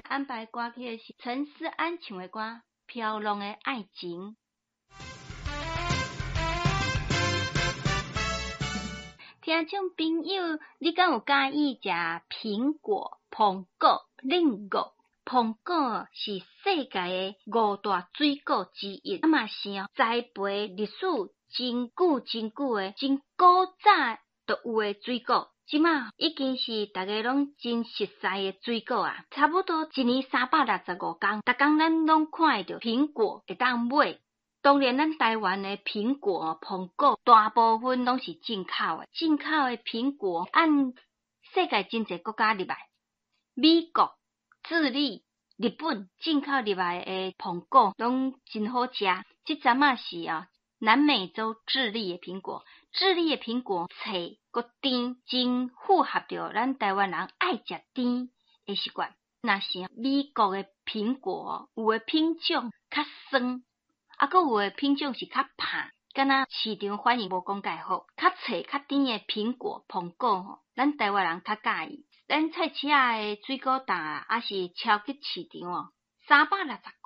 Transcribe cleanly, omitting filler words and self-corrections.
安排歌曲的是陳思安唱的歌《飄浪的愛情》。聽眾朋友，你敢有佮意食蘋果、蘋果、蘋果？蘋果是世界的五大水果之一，啊嘛是栽培歷史真久真久的、真古早就有的水果。這馬已經是逐家攏真熟似的水果啊！差不多一年365工，逐工咱攏看會著蘋果會當買。當然，咱台灣的蘋果、蘋果大部分攏是進口的，進口的蘋果按世界真濟國家入來，美國、智利、日本進口入來的蘋果攏真好食。這陣仔是啊，南美洲智利的蘋果，智利的蘋果脆閣甜，真符合著咱台灣人愛食甜的習慣。若是美國的蘋果，有的品種較酸。啊，閣有的品種是較拍，敢若市場反應無講蓋好，較脆較甜的蘋果、蘋果吼，咱台灣人較佮意。咱菜市仔的水果檔啊，抑是超級市場哦，三百六十